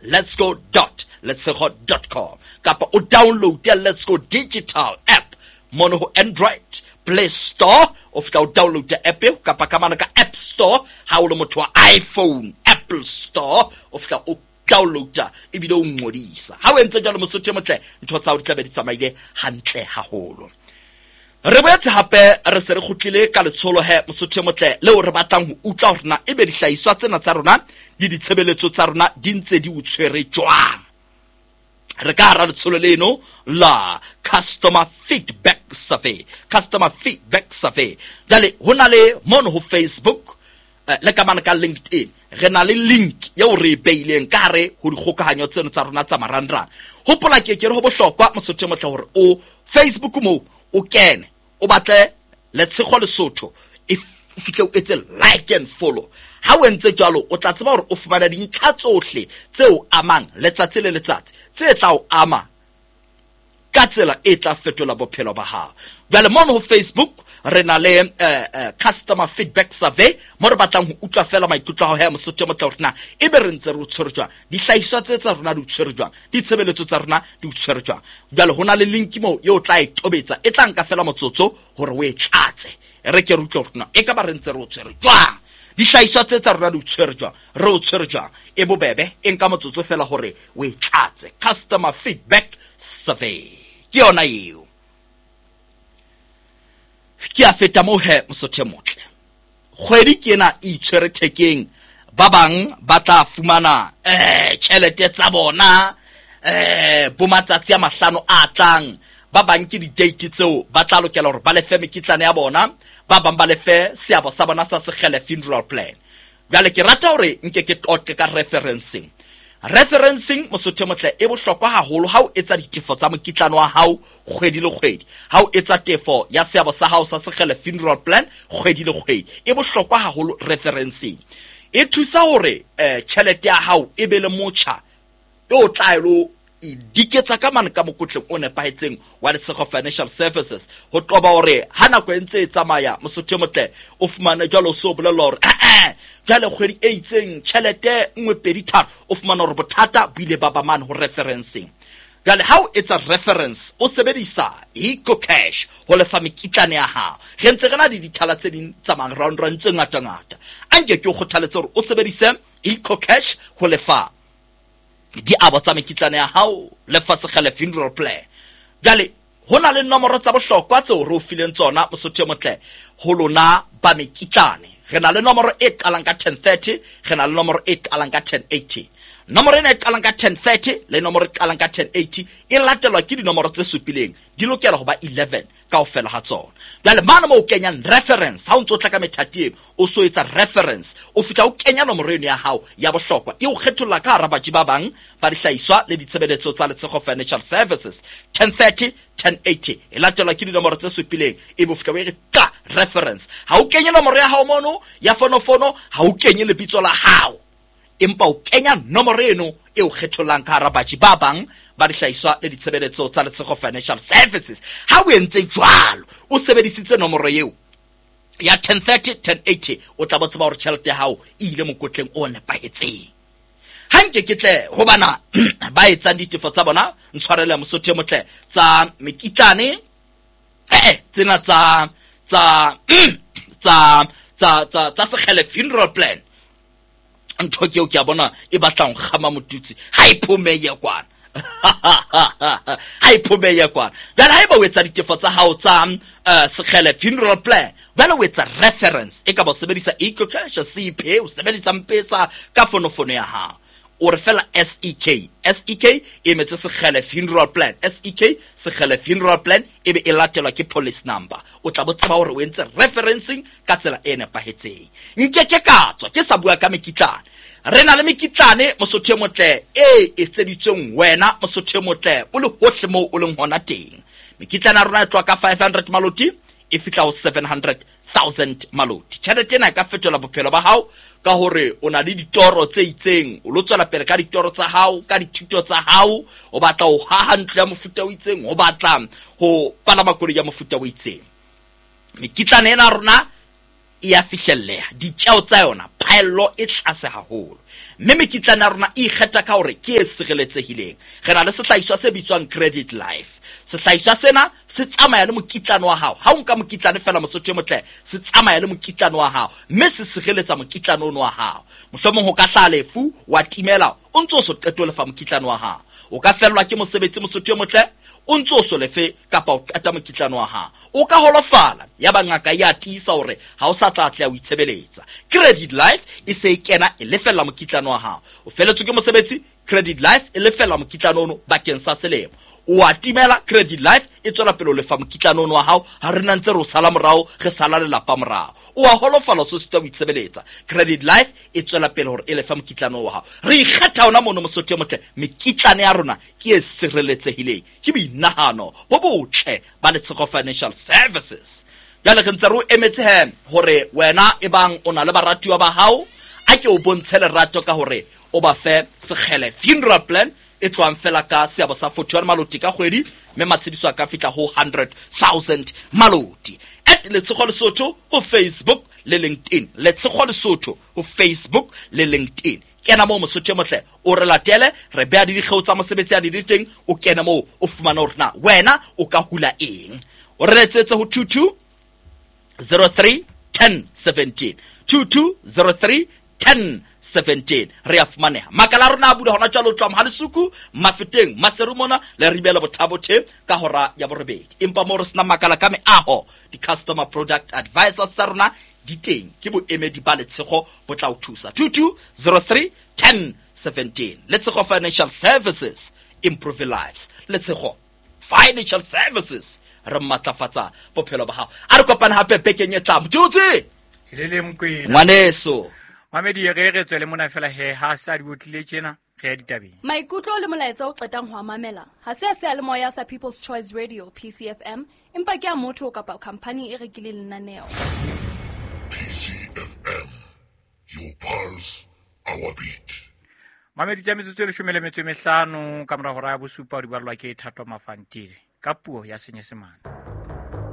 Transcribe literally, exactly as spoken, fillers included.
Let's go dot letshego dot com kapa o download ya Let's Go digital app mono ho Android Play Store. O fihla o download app eo kapa ka mane ka App Store. Ha o le motho wa iPhone, Apple Store, o fihla o downloada ebile o ngodisa. Ha o entse jwalo, mosotho e motle, ntho tsa hao di tla be di tsamaile hantle haholo. Re boetse hape re se re kgutlile ka letsholo he, mosotho e motle, leo re batlang ho utlwa hore na ebe dihlahiswa tsena tsa rona le ditshebeletso tsa rona di ntse di o tshwere jwang. Re ka hara letsholo leno la customer feedback survey, customer feedback survey. Jwale ho na le mono ho Facebook, eh, le ka mane ka LinkedIn, re na le link eo re e beileng ka hare ho dikgokahanyo tseno tsa rona tsa marangrang. Hopola ke ke re ho bohlokwa, mosotho e motle, hore o Facebook moo o kene o batle Letshego Lesotho, e o fihle o etse like and follow. Ha o entse jwalo, o tla tseba hore o fumana dintlha tsohle tse o amang letsatsi le letsatsi, tse tla o ama ka tsela e tla fetola bophelo ba hao. Jwale mono ho Facebook re na le eh, eh, customer feedback survey mo re batlang ho utlwa fela maikutlo a hao he, mosotho e motle, hore na ebe re ntse re o tshwere jwang, dihlahiswa tse tsa rona di o tshwere jwang, ditshebeletso tsa rona di o tshwere jwang. Jwale ho na le link moo eo o tla e tobetsa, e tla nka fela motsotso hore o e tlatse. Re ke re utlwe hore na e ka ba re ntse re o tshwere jwang, dihlahiswa tse tsa rona di o tshwere jwang, re o tshwere jwang. E bobebe, e nka motsotso fela hore o e tlatse. Customer feedback survey ke yona eo. Ke a feta moo he, mosotho e motle. Kgwedi ke ena e itshwere thekeng, ba bang ba tla fumana eh tjhelete tsa bona eh bo matsatsi a mahlano a tlang. Ba bang ke di-date tseo ba tla lokela hore ba lefe mekitlane ya bona, ba bang ba lefe seabo sa bona sa Sekgele funeral plan. Jwale ke rata hore nke ke qoqe ka referencing. Referencing, mosotho e motle, e bohlokwa haholo ha o etsa ditefo tsa mokitlane wa hao kgwedi le kgwedi, ha o etsa tefo ya seabo sa hao sa Sekgele funeral plan kgwedi le kgwedi. E bohlokwa haholo referencing, e thusa hore eh, tjhelete ya hao e be le motjha e o tla elo e diketsa ka mane ka mokotleng o nepahetseng wa Letshego Financial Services, ho qoba hore ha nako e ntse e tsamaya, mosotho e motle, o fumane jwalo o so bolellwa hore eh jwale kgwedi e itseng tjhelete nngwe pedi tharo, o fumane hore bothata bo ile ba ba mane ho referencing. Jwale ha o etsa reference, o sebedisa EcoCash ho lefa mekitlane ya hao, re ntse re na le dithala tse ding tsa marangrang tse ngata-ngata. A nke ke o kgothaletse hore o sebedise EcoCash ho lefa diabo tsa mekitlane ya hao, lefa Sekgele funeral plan. Jwale ho na le nomoro tsa bohlokwa tseo re o fileng tsona, mosotho e motle, ho lona ba mekitlane. Re na le nomoro e qalang ka ten thirty, re na le nomoro e qalang ka ten eighty. Nomoro ena e qalang ka ten thirty le nomoro e qalang ka ten eighty e latelwa ke dinomoro tse supileng, di lokela ho ba eleven kaofela ha tsona. Jwale mane moo o kenyang reference, ha o ntso tla ka methati eno o so etsa reference, o fihla o kenya nomoro eno ya hao ya bohlokwa, e o kgetholla ka hara batjhi ba bang ba dihlahiswa le ditshebeletso tsa Letshego Financial Services. ten thirty, ten eighty e latelwa ke dinomoro tse supileng, e be o fihla o e re ka reference. Ha o kenye nomoro ya hao mono ya fonofono, ha o kenye lebitso la hao, empa o kenya nomoro eno e o kgethollang ka hara batjhi ba bang ba dihlahiswa le ditshebeletso tsa Letshego Financial Services. Ha o entse jwalo, o sebedisitse nomoro eo ya ten thirty, ten eighty, o tla bo tseba hore tjhelete ya hao e ile mokotleng o nepahetseng. Ha nke ke tle ho bana ba etsang ditefo tsa bona, ntshwarele mosotho e motle, tsa mekitlane, eh, tsena tsa, tsa, tsa, tsa, tsa, tsa Sekgele funeral plan. Ntho ke eo ke a bona e batlang ho kgama motutsi, ha e phomeye kwana. Ha e phomeye kwana. Jwale haeba o etsa ditefo tsa hao tsa, eh, Sekgele funeral plan, jwale o etsa reference, e ka ba o sebedisa EcoCash, C P, o sebedisa M-Pesa ka fonofono ya hao. O re fela S E K. S E K e emetse Sekgele funeral plan. S E K, Sekgele funeral plan, e be e latelwa ke policy number. O tla bo tseba hore o entse referencing ka tsela e nepahetseng. Nke ke ka tswa ke sa bua ka mekitlane. Re na le mekitlane, mosotho e motle, e etseditsweng wena, mosotho e motle, o le hohle moo o leng hona teng. Mekitlane ya rona e tloha ka five hundred maloti, e fihla ho seven hundred thousand maloti. Tjhelete ena e ka fetola bophelo ba hao ka hore o na le ditoro tse itseng, o lo tswela pele ka ditoro tsa hao, ka dithuto tsa hao, o batla ho haha ntlo ya mofuta o itseng, o batla ho palama koloi ya mofuta o itseng. Mekitlane ena ya rona e a fihlelleha, ditjeo tsa yona phaello e tlase haholo. Mme mekitlane ya rona e ikgetha ka hore ke e sireletsehileng. Re na le sehlahiswa se bitswang Credit Life. Sehlahiswa sena se tsamaya le mokitlane wa hao. Ha o nka mokitlane fela Mosotho e motle, se tsamaya le mokitlane wa hao, mme se sireletsa mokitlane ono wa hao. Mohlomong ho ka hlaha lefu, wa timela, o ntso o so qete ho lefa mokitlane wa hao. O ka fellwa ke mosebetsi Mosotho e motle, o ntso o so lefe kapa o qeta mokitlane wa hao. O ka holofala, ya ba ngaka ya tiisa hore ha o sa tla atleha ho itshebeletsa. Credit Life e se e kena e lefella mokitlane wa hao. O feletswe ke mosebetsi, Credit Life e lefella mokitlane ono bakeng sa selemo. O a timela, Credit Life e tswela pele ho lefa mokitlane ono wa hao, ha re na ntse re o sala morao, re sala lelapa morao. O a holofala, o se sitwa ho itshebeletsa. Credit Life e tswela pele hore e lefa mokitlane wa hao. Re ikgetha hona mono Mosotho e motle, mekitlane ya rona ke e sireletsehileng, ke boinahano bo botle ba Letshego Financial Services. Jwale re ntse re o emetse he hore wena e bang o na le baratuwa ba hao, a ke o bontshe lerato ka hore o ba fe sekgele funeral plan e tlohang fela ka seabo sa forty-one maloti ka kgwedi, mme matshediso a ka fihla ho hundred thousand maloti. At Letshego Lesotho ho Facebook le LinkedIn. Letshego Lesotho ho Facebook le LinkedIn. Kena moo Mosotho e motle, o re latele, re beha le dikgeo tsa mosebetsi a di le teng, o kene moo o fumane hore na wena o ka hula eng. O re letsetse ho two two zero three ten seventeen. two two zero three ten seventeen. Re a fumaneha. Makala a rona a bula hona jwale ho tloha Mohalesuku, Mafeteng, Maseru mona, le Ribela Bothabothe ka hora ya borobedi. Empa moo re sena makala ka meaho, di-customer product advisors tsa rona di teng, ke boemedi ba Letshego bo tla o thusa. two two zero three ten seventeen. Letshego Financial Services, improve lives. Letshego Financial Services, re matlafatsa bophelo ba hao. A re kopane hape bekeng e tlang. Motjotsi! Le le Mokwena. Ngwaneso. Mamedi, re re tswele mona fela he, ha sa di botlile tjena, re ya ditabeng. Maikutlo le molaetsa o qetang ho a mamela ha se a seyalemoya sa People's Choice Radio P C F M, empa ke a motho kapa khampani e rekileng lenaneo. P C F M, your pulse, our beat. Mamedi, tsa metsotso e leshome le metso e mehlano ka mora hora ya bosupa, o di balwa ke Thato Mafantile ka puo ya Senyesemane.